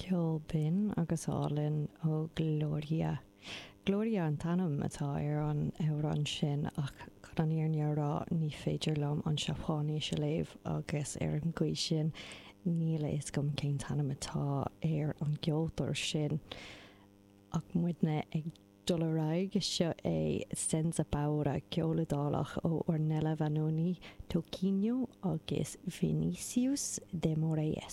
Ceol binn agus álainn ó Gloria. Gloria an t-ainm atá ar an amhrán sin ach chun an fhírinne a rá ní féidir liom an Seapáinis a léamh agus ar an gcaoi sin níl a fhios agam cén t-ainm atá ar an gceoltóir sin. Ach muidne ag dul ar aghaidh, seo é Senza Paura, ceol Iodálach ó Ornella Vanoni, Toquinho agus Vinicius de Moraes.